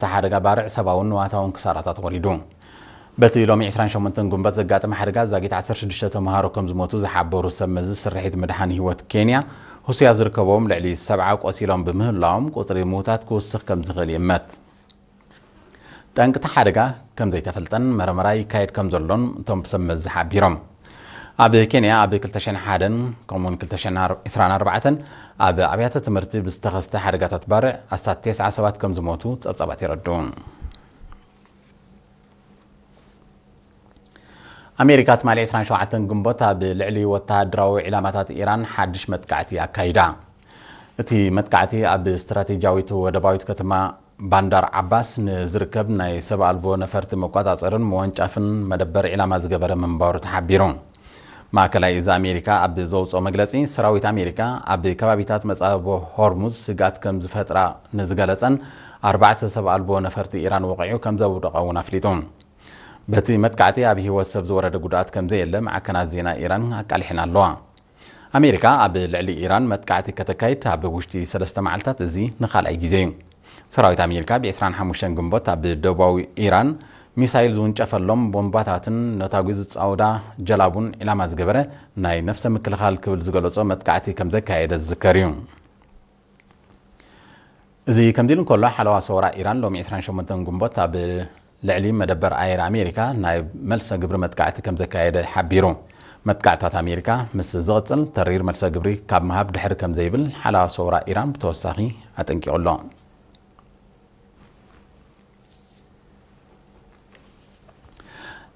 እቲ ሓደጋ ባርዕ ሰብኣውን ንዋታውን ክሳራታት ወሪዱ። በቲ ሎሚ ዕስራን ሸሞንተን ግንቦት ዘጋጠመ ሓደጋ ዛጊት ዓሰርተ ሽዱሽተ ተምሃሮ ከም ዝሞቱ ዝሓበሩ ሰብ መዚ ስርሒት ምድሓን ህይወት ኬንያ፣ ህሱያ ዝርከቦም ልዕሊ ሰብዓ ቆሲሎም ብምህላዎም ቁፅሪ ምውታት ክውስኽ ከም ዝኽእል ይእመት። ጠንቂ እቲ ሓደጋ ከም ዘይተፈልጠን መረመራ ይካየድ ከም ዘሎን እቶም ሰብ መዚ ሓቢሮም። ኣብ ኬንያ ኣብ ክልተ ሽሕን ሓደን ከምኡውን ክልተ ሽሕን ዕስራን ኣርባዕተን ኣብ ኣብያተ ትምህርቲ ብዝተኸስተ ሓደጋታት ባርዕ ኣስታት ተስዓ ሰባት ከም ዝሞቱ ጸብጻባት የረድኡ። ኣሜሪካ ትማሊ ዕስራን ሸውዓተን ግንቦት ኣብ ልዕሊ ወተሃደራዊ ዒላማታት ኢራን ሓድሽ መጥቃዕቲ ኣካይዳ። እቲ መጥቃዕቲ ኣብ ስትራቴጂያዊት ወደባዊት ከተማ ባንዳር ዓባስ ንዝርከብ ናይ ሰብ ኣልቦ ነፈርቲ መቆጻጸርን መወንጫፍን መደበር ዒላማ ዝገበረ ምንባሩ ተሓቢሩ። ማእከላይ እዚ ኣሜሪካ ኣብ ዘውፅኦ መግለፂ፣ ሰራዊት ኣሜሪካ ኣብ ከባቢታት መጻብቦ ሆርሙዝ ስግኣት ከም ዝፈጥራ ንዝገለጸን ኣርባዕተ ሰብ ኣልቦ ነፈርቲ ኢራን ወቒዑ ከም ዘውደቐ እውን ኣፍሊጡ። በቲ መጥቃዕቲ ኣብ ህይወት ሰብ ዝወረደ ጉድኣት ከም ዘየለ ማዕከናት ዜና ኢራን ኣቃሊሐን ኣለዋ። ኣሜሪካ ኣብ ልዕሊ ኢራን መጥቃዕቲ ከተካይድ ኣብ ውሽጢ ሰለስተ መዓልታት እዚ ንኻልኣይ ግዜ እዩ። ሰራዊት ኣሜሪካ ብ ዕስራን ሓሙሽተን ግንቦት ኣብ ደቡባዊ ኢራን ሚሳይል ዝውንጨፈሎም ቦምባታትን ነታጒ ዝጻወዳ ጀላቡን ዒላማ ዝገበረ ናይ ነፍሰ ምክልኻል ክብል ዝገለጾ መጥቃዕቲ ከም ዘካየደ ዝዝከር እዩ። እዚ ከምዚ ኢሉ እንከሎ፣ ሓለዋ ሰውራ ኢራን ሎሚ ዕስራን ሸሞንተን ግንቦት ኣብ ልዕሊ መደበር ኣየር ኣሜሪካ ናይ መልሰ ግብሪ መጥቃዕቲ ከም ዘካየደ ሓቢሩ። መጥቃዕትታት ኣሜሪካ ምስ ዝቕጽል፣ ተሪር መልሰ ግብሪ ካብ ምሃብ ድሕሪ ከም ዘይብል ሓለዋ ሰውራ ኢራን ብተወሳኺ ኣጠንቂቑ ኣሎ።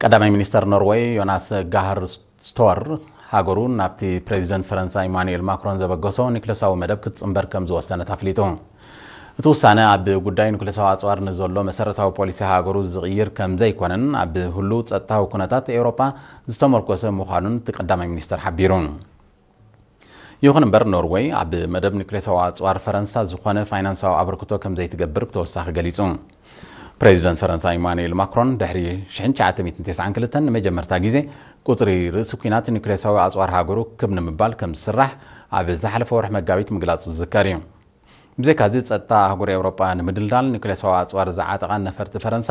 ቀዳማይ ሚኒስተር ኖርወይ ዮናስ ጋህር ስቶር፣ ሃገሩ ናብቲ ፕሬዚደንት ፈረንሳ ኢማኑኤል ማክሮን ዘበገሶ ኒክለሳዊ መደብ ክትጽንበር ከም ዝወሰነት ኣፍሊጡ። እቲ ውሳነ ኣብ ጉዳይ ኒክለሳዊ ኣጽዋር ንዘሎ መሰረታዊ ፖሊሲ ሃገሩ ዝቕይር ከም ዘይኮነን ኣብ ህሉው ጸጥታዊ ኩነታት ኤውሮጳ ዝተመርኮሰ ምዃኑን እቲ ቀዳማይ ሚኒስተር ሓቢሩ። ይኹን እምበር፣ ኖርወይ ኣብ መደብ ኒክሌሳዊ ኣጽዋር ፈረንሳ ዝኾነ ፋይናንሳዊ ኣበርክቶ ከም ዘይትገብር ብተወሳኺ ገሊጹ። ፕሬዚደንት ፈረንሳ ኢማኑኤል ማክሮን ድሕሪ ሽሕን ትሽዓተ ሚእትን ተስዓን ክልተን ንመጀመርታ ግዜ ቁጽሪ ርእሲ ኲናት ኒክሌሳዊ ኣጽዋር ሃገሩ ክብ ንምባል ከም ዝስራሕ ኣብ ዝሓለፈ ወርሒ መጋቢት ምግላጹ ዝዝከር እዩ። ብዘይካዚ፣ ጸጥታ ኣህጉር ኤውሮጳ ንምድልዳል ኒክሌሳዊ ኣጽዋር ዝዓጠቓ ነፈርቲ ፈረንሳ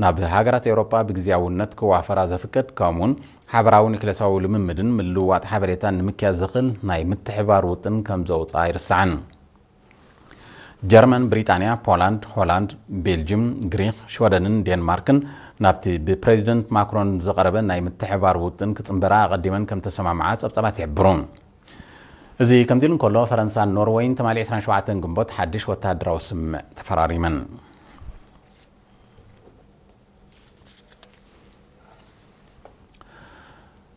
ናብ ሃገራት ኤውሮጳ ብግዝያውነት ክዋፈራ ዘፍቅድ፣ ከምኡውን ሓበራዊ ኒክሌሳዊ ልምምድን ምልውዋጥ ሓበሬታን ንምክያድ ዘኽእል ናይ ምትሕብባር ውጥን ከም ዘውጽኣ ኣይርሳዕን። ጀርመን፣ ብሪጣንያ፣ ፖላንድ፣ ሆላንድ፣ ቤልጅም፣ ግሪክ፣ ሽወደንን ዴንማርክን ናብቲ ብፕሬዚደንት ማክሮን ዝቐረበ ናይ ምትሕብባር ውጥን ክጽንበራ ኣቐዲመን ከም ተሰማምዓ ጸብጻባት ይሕብሩ። እዚ ከምዚ ኢሉ እንከሎ፣ ፈረንሳን ኖርወይን ትማሊ ዕስራን ሸውዓተን ግንቦት ሓድሽ ወተሃደራዊ ስምምዕ ተፈራሪመን።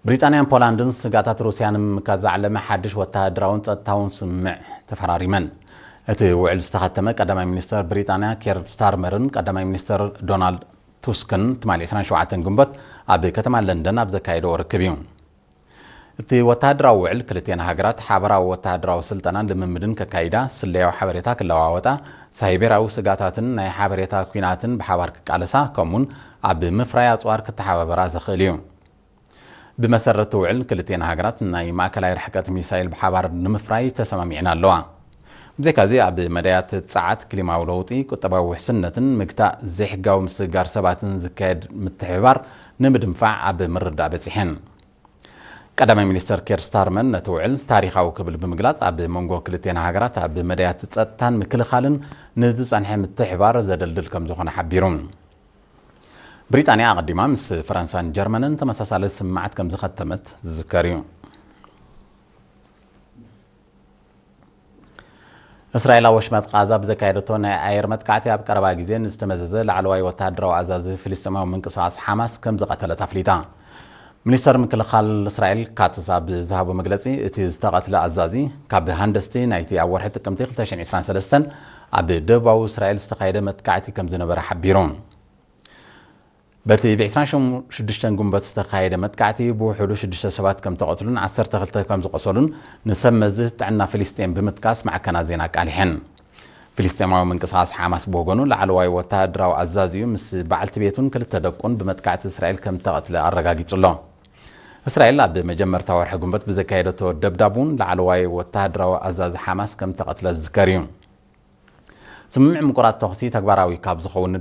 ብሪጣንያን ፖላንድን ስጋታት ሩስያ ንምምካት ዝዓለመ ሓድሽ ወተሃደራውን ጸጥታውን ስምምዕ ተፈራሪመን። እቲ ውዕል ዝተኸተመ ቀዳማይ ሚኒስተር ብሪጣንያ ኬር ስታርመርን ቀዳማይ ሚኒስተር ዶናልድ ቱስክን ትማሊ ዕስራን ሸውዓተን ግንቦት ኣብ ከተማ ለንደን ኣብ ዘካየድዎ ርክብ እዩ። እቲ ወተሃደራዊ ውዕል ክልቲኤን ሃገራት ሓበራዊ ወተሃደራዊ ስልጠናን ልምምድን ከካይዳ፣ ስለያዊ ሓበሬታ ክለዋወጣ፣ ሳይቤራዊ ስጋታትን ናይ ሓበሬታ ኲናትን ብሓባር ክቃለሳ፣ ከምኡውን ኣብ ምፍራይ ኣጽዋር ክተሓባበራ ዘኽእል እዩ። ብመሰረት እቲ ውዕል፣ ክልቲኤን ሃገራት ናይ ማእከላይ ርሕቀት ሚሳይል ብሓባር ንምፍራይ ተሰማሚዕን ኣለዋ። ብዘይካዚ፣ ኣብ መዳያት ጸዓት፣ ክሊማዊ ለውጢ፣ ቁጠባዊ ውሕስነትን ምግታእ ዘይሕጋዊ ምስግጋር ሰባትን ዝካየድ ምትሕብባር ንምድንፋዕ ኣብ ምርዳእ በጺሐን። ቀዳማይ ሚኒስተር ኬር ስታርመን ነቲ ውዕል ታሪኻዊ ክብል ብምግላጽ፣ ኣብ መንጎ ክልቲኤን ሃገራት ኣብ መዳያት ጸጥታን ምክልኻልን ንዝጸንሐ ምትሕብባር ዘደልድል ከም ዝኾነ ሓቢሩ። ብሪጣንያ ኣቐዲማ ምስ ፈረንሳን ጀርመንን ተመሳሳሊ ስምምዓት ከም ዝኸተመት ዝዝከር እዩ። እስራኤል ኣብ ወሽመጥ ቃዛ ብዘካየደቶ ናይ ኣየር መጥቃዕቲ ኣብ ቀረባ ግዜ ንዝተመዘዘ ላዕለዋይ ወተሃደራዊ ኣዛዚ ፍልስጤማዊ ምንቅስቓስ ሓማስ ከም ዝቐተለት ኣፍሊጣ። ሚኒስተር ምክልኻል እስራኤል ካትዝ ኣብ ዝሃቦ መግለጺ፣ እቲ ዝተቐትለ ኣዛዚ ካብ ሃንደስቲ ናይቲ ኣብ ወርሒ ጥቅምቲ ክልተ ሽሕን ዕስራን ሰለስተን ኣብ ደቡባዊ እስራኤል ዝተኻየደ መጥቃዕቲ ከም ዝነበረ ሓቢሩ። በቲ ብ ዕስራን ሽዱሽተን ግንቦት ዝተኻየደ መጥቃዕቲ ብውሕዱ ሽዱሽተ ሰባት ከም ተቐትሉን ዓሰርተ ክልተ ከም ዝቖሰሉን ንሰብ መዚ ጥዕና ፍልስጤም ብምጥቃስ ማዕከናት ዜና ኣቃሊሐን። ፍልስጤማዊ ምንቅስቓስ ሓማስ ብወገኑ፣ ላዕለዋይ ወተሃደራዊ ኣዛዚኡ ምስ በዓልቲ ቤቱን ክልተ ደቁን ብመጥቃዕቲ እስራኤል ከም ተቐትለ ኣረጋጊጹ ኣሎ። እስራኤል ኣብ መጀመርታ ወርሒ ግንቦት ብዘካየደቶ ደብዳብ እውን ላዕለዋይ ወተሃደራዊ ኣዛዚ ሓማስ ከም ተቐትለ ዝዝከር እዩ። ስምምዕ ምቁራጽ ተኹሲ ተግባራዊ ካብ ዝኸውን